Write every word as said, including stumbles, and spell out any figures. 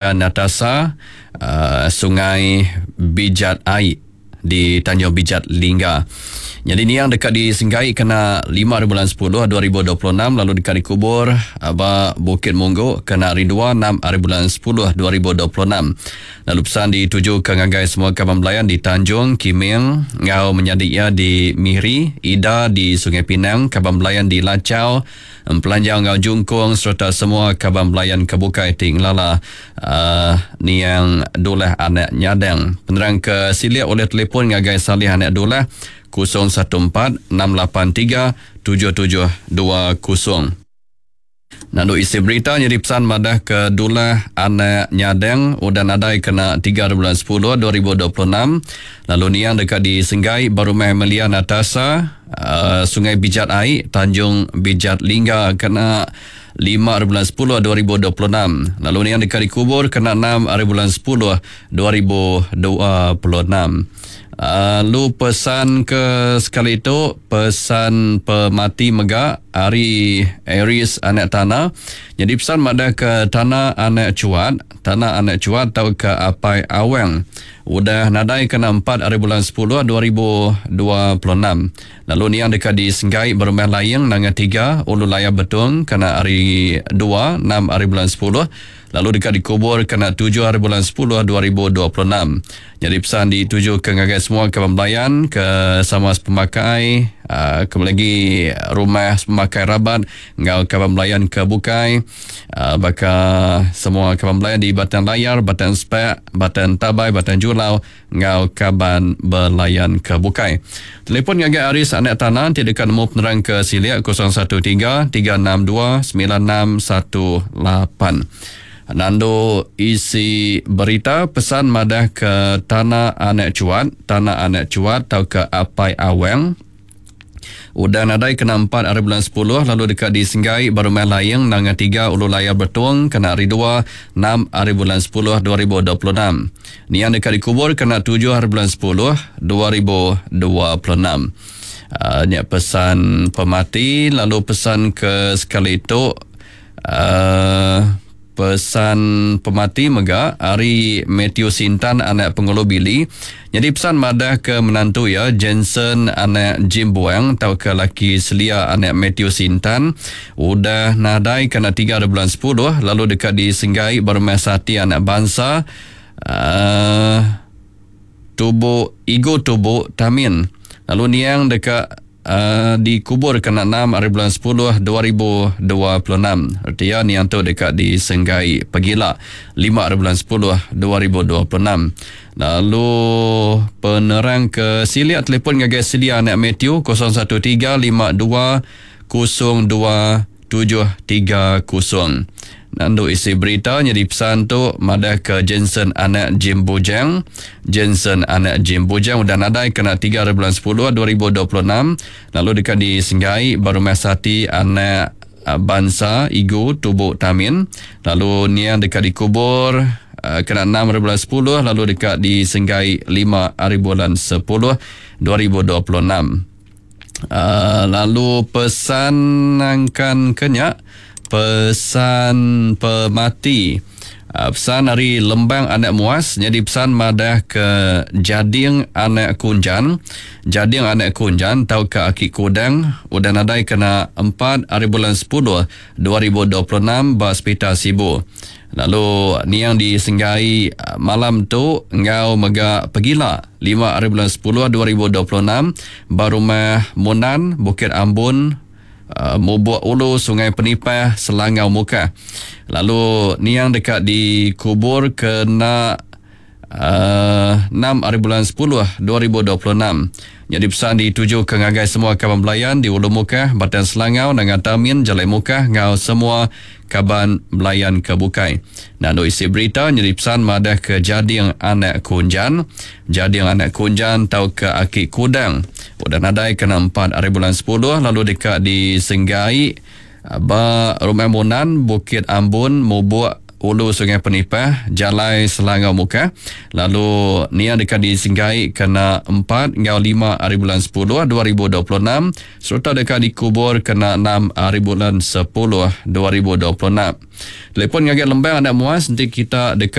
Natasa uh, Sungai Bijat Ai di Tanjung Bijat Lingga. Jadi niang deka disenggai kena lima hari bulan sepuluh dua ribu dua puluh enam lalu deka dikubur ba Bukit Munggu kena hari dua enam hari bulan sepuluh dua ribu dua puluh enam. Lalu pesan dituju ke ngagai semua kaban belayan di Tanjung Kiming ngau menyadi ia di Miri, Ida di Sungai Pinang, kaban belayan di Lachau, Empelanjau ngau Jungkung serta semua kaban belayan ke bukai ti ngelala uh, niang Dulah anak Nyadang. Penerang ke silik oleh telefon ngagai Salih anak Dulah kosong satu empat enam lapan tiga tujuh tujuh dua kosong. Nandu isi berita jadi pesan madah ke Dulah anak Nyadang udah nadai kena tiga bulan sepuluh dua ribu dua puluh enam lalu niang dekat di Senggai Barumah Emilia Natasa uh, Sungai Bijat Ai Tanjung Bijat Lingga kena lima bulan sepuluh dua ribu dua puluh enam lalu niang dekat dikubur kena enam hari bulan sepuluh dua ribu dua puluh enam. Lalu uh, pesan ke sekali itu pesan pemati mega ari Aries anak tanah. Jadi pesan madah ke tanah anak cuat, tanah anak cuat tau ke Apai Awang. Udah nadai kena empat hari bulan sepuluh dua ribu dua puluh enam. Lalu niang dekat di Senggai Berumah Layang Nanga tiga Ulu Layar Betung kena hari dua enam hari bulan sepuluh. Lalu dekat dikubur kena tujuh hari bulan sepuluh dua ribu dua puluh enam. Jadi pesan dituju ke ngagai semua kaban belayan ke sama sepemakai, uh, kembali lagi rumah sepemakai rabat ngau kaban belayan ke bukai, uh, baka semua kaban belayan di Batang Layar, Batang Spek, Batang Tabai, Batang Julau ngau kaban belayan ke bukai. Telefon ngagai Aris anak tanah ti dekat nemu penerang ke silik kosong satu tiga tiga enam dua sembilan enam satu lapan. Nando isi berita pesan madah ke tanah anak cuat, tanah anak cuat atau ke Apai Awang. Udah nadai kena empat hari bulan sepuluh lalu dekat di Senggai Barumah Layang Nanga tiga Ulu Layar Betung kena hari dua enam hari bulan sepuluh dua ribu dua puluh enam. Niang dekat dikubur kena tujuh hari bulan sepuluh dua ribu dua puluh enam. Uh, nya pesan pemati lalu pesan ke sekali itu uh, pesan pemati mega ari Matthew Sintan anak Pengulu Billy. Jadi pesan madah ke menantu ya Jensen anak Jim Buang atau ke laki Selia anak Matthew Sintan udah nadai kena tiga bulan sepuluh lalu dekat di Senggai Berumah Sati anak bangsa uh, tubuh Igo Tubuh Tamin. Lalu niang dekat Uh, dikubur kena enam hari bulan sepuluh dua ribu dua puluh enam. Artinya niang tu dekat di Senggai Pegila lima hari bulan sepuluh dua ribu dua puluh enam. Lalu penerang ke Silia telefon ngagai Silia anak Matthew kosong satu tiga lima dua kosong dua tujuh tiga kosong. Nandu isi berita jadi pesan tu madah ke Jensen anak Jim Bujang. Jensen anak Jim Bujang udah nadai kena tiga hari bulan sepuluh dua ribu dua puluh enam lalu dekat di Senggai Barumah Sati anak bangsa Igu Tubuk Tamin. Lalu niang dekat dikubur uh, kena enam hari bulan sepuluh lalu dekat di Senggai lima hari bulan sepuluh dua ribu dua puluh enam. Uh, lalu pesan angkan kenyak pesan pemati pesan hari Lembang anak Muas. Jadi pesan madah ke Jading anak Kunjan, Jading anak Kunjan tau ke Aki Kudang udah nadai kena empat hari bulan sepuluh dua ribu dua puluh enam ba Hospital Sibu. Lalu niang disenggai malam tu ngau mega pegila lima hari bulan sepuluh dua ribu dua puluh enam ba rumah Munan Bukit Ambun Uh, Mubuk Ulu Sungai Penipah Selangau Mukah. Lalu niang dekat dikubur kena uh, enam hari bulan sepuluh dua ribu dua puluh enam. Jadi pesan dituju ke ngagai semua kaban belayan di Ulu Mukah, Batang Selangau, Nanga Tamin, Jalai Mukah ngau semua kaban belayan ke bukai. Nah, isi berita jadi pesan madah ke Jading anak Kunjan, Jading anak Kunjan tau ke Aki Kudang. Udah nadai kena empat hari bulan sepuluh lalu dekat di Senggai ba Rumah Munan Bukit Ambun Mubuk Ulu Sungai Penipah, Jalai Selangau-Mukah lalu niang deka disenggai kena empat enggau lima hari bulan sepuluh dua ribu dua puluh enam sereta deka dikubur kena enam hari bulan sepuluh dua ribu dua puluh enam. Telefon ngagai Lembang Anak Muas enti kita deka